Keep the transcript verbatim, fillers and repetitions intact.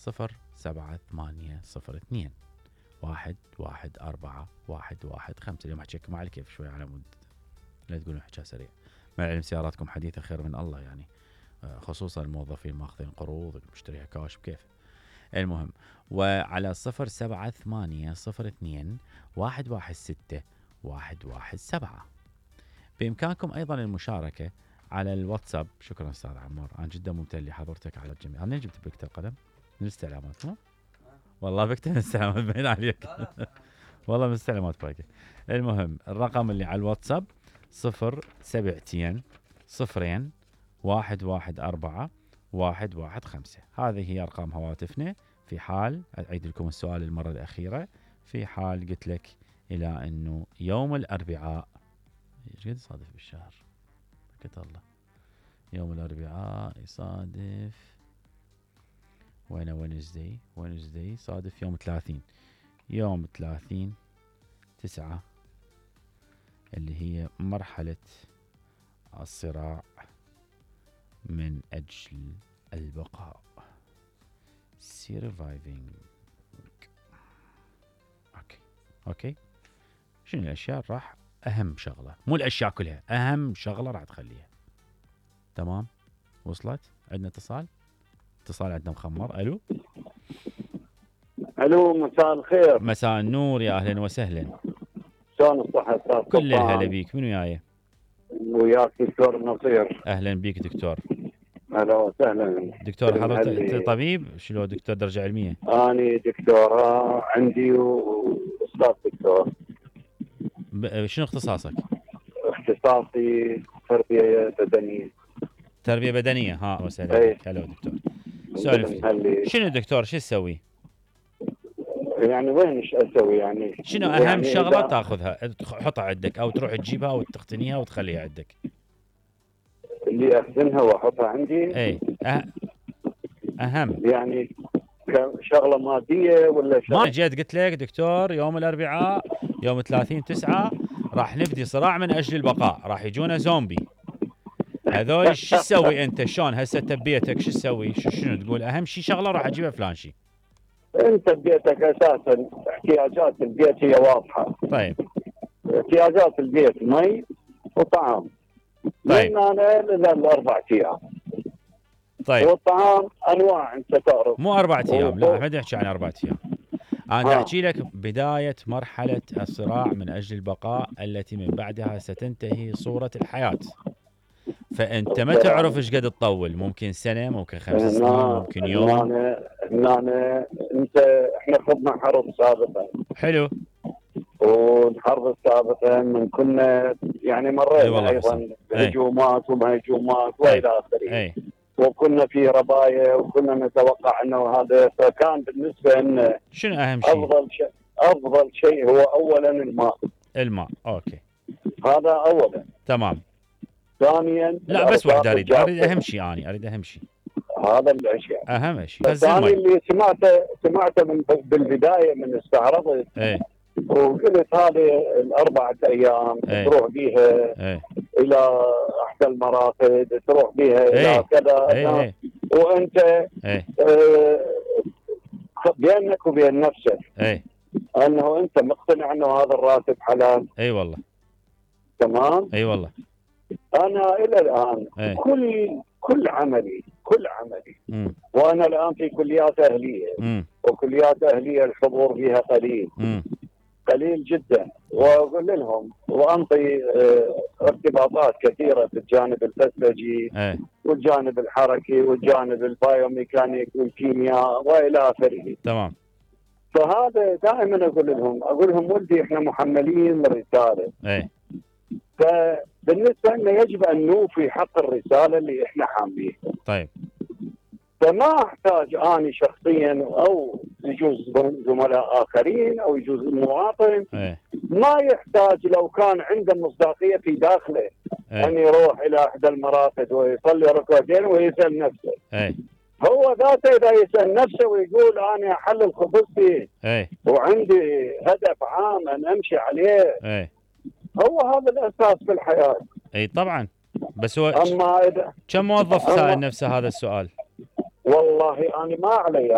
صفر سبعة ثمانية صفر اثنين واحد واحد أربعة واحد واحد خمسة. اليوم أحكيكم على كيف شوي على مود لا تقولون حكاية سريع. مع العلم سياراتكم حديثة خير من الله يعني، خصوصا الموظفين ماخذين قروض مشتريها كاش بكيف. المهم وعلى صفر سبعة ثمانية صفر اثنين واحد واحد ستة واحد واحد سبعة. بإمكانكم أيضا المشاركة على الواتساب. شكرا أستاذ عمار، أنا جدا ممتن لحضرتك على الجميع. أنا جبت بكتة القلم من الاستعلامات مو؟ والله بكتة من الاستعلامات بين عليك والله من الاستعلامات باقي. المهم الرقم اللي على الواتساب صفر سبعتين صفرين واحد واحد أربعة واحد واحد خمسة. هذه هي أرقام هواتفنا في حال أعيد لكم السؤال المرة الأخيرة، في حال قلت لك إلى أنه يوم الأربعاء ايش قد يصادف بالشهر؟ بركة الله. يوم الأربعاء يصادف وين؟ وينزداي وينزداي صادف يوم ثلاثين. يوم ثلاثين تسعة اللي هي مرحلة الصراع من أجل البقاء. surviving. اوكي اوكي شنو الاشياء راح اهم شغله، مو الاشياء كلها، اهم شغله راح تخليها. تمام وصلت؟ عندنا اتصال اتصال عندنا مخمر. الو الو مساء الخير. مساء النور، يا اهلا وسهلا. شلون الصحه استاذ؟ كل الهلا بيك. منو وياي؟ وياك دكتور نصير. اهلا بيك دكتور. اهلا وسهلا دكتور. حضرتك طبيب شلون دكتور درجه علميه؟ اني دكتوراه عندي واستاذ دكتور. شنو اختصاصك؟ اختصاصي تربيه بدنيه. تربيه بدنيه. ها وسهلا بك. هلا دكتور. سولف شنو دكتور شو تسوي؟ يعني وين ايش اسوي يعني؟ شنو اهم يعني شغله تاخذها تحطها عندك او تروح تجيبها وتقتنيها وتخليها عندك؟ اللي اخزنها واحطها عندي. اي أه... اهم يعني شغله ماديه ولا شغله؟ ما جيت قلت لك دكتور يوم الاربعاء يوم ثلاثين تسعة راح نبدي صراع من اجل البقاء، راح يجونا زومبي هذول. شو تسوي انت؟ شلون هسه تبيتك شو تسوي؟ شنو تقول اهم شيء شغله راح اجيبها فلان شيء؟ انت بيتك اساسا احتياجات البيت هي واضحه. طيب احتياجات البيت مي وطعام. طيب من انا للاربع ايام. طيب والطعام انواع انت تعرف. مو اربع ايام، لا ما احكي عن اربع ايام. انا احكي لك بدايه مرحله الصراع من اجل البقاء التي من بعدها ستنتهي صوره الحياه. فانت ما تعرف ايش قد تطول، ممكن سنه، ممكن خمس سنين، ممكن يوم. هنا هنا انت احنا خضنا حرب سابقا. حلو. والحرب السابقه من كنا يعني مرينا ايضا بهجومات وما هجومات والى اخره. وكنا في ربايا وكنا نتوقع انه هذا، فكان بالنسبه لنا شنو اهم شيء؟ افضل شيء افضل شيء هو اولا الماء. الماء اوكي. هذا اولا. تمام. ثانيا لا بس واحد اريد اريد اهم شيء اني اريد اهم شيء. هذا الاشياء. اهم شيء. الثاني اللي سمعته سمعته من بالبدايه من استعرضت. ايه. وقلت هذه الاربعه ايام ايه. تروح بيها ايه. الى احدى المراقد، تروح بيها ايه. الى كذا. ايه. ايه. وانت ايه. اه بينك وبين نفسك ايه. انه انت مقتنع انه هذا الراتب حلال. اي والله. تمام. اي والله. انا الى الان ايه. كل كل عملي كل عملي مم. وانا الان في كليات اهليه. مم. وكليات اهليه الحضور فيها قليل. مم. قليل جدا. واقول لهم وانطي ارتباطات كثيره في الجانب الفسيولوجي ايه. والجانب الحركي والجانب البايوميكانيك والكيمياء والى اخره. تمام. فهذا دائما اقول لهم اقول لهم ولدي احنا محملين رساله. ايه. فبالنسبه لنا يجب ان نوفي حق الرساله اللي احنا حاملينها. طيب. فما احتاج اني شخصيا او يجوز زملاء اخرين او يجوز المواطن. ايه. ما يحتاج لو كان عنده مصداقيه في داخله ايه. ان يروح الى احدى المراقد ويصلي ركعتين ويسال نفسه. ايه. هو ذاته اذا يسال نفسه ويقول انا احلل خبزتي. ايه. وعندي هدف عام ان امشي عليه. ايه. هو هذا الاساس في الحياه. اي طبعا. بس هو اما اذا كم موظف سائل نفسه هذا السؤال؟ والله انا ما علي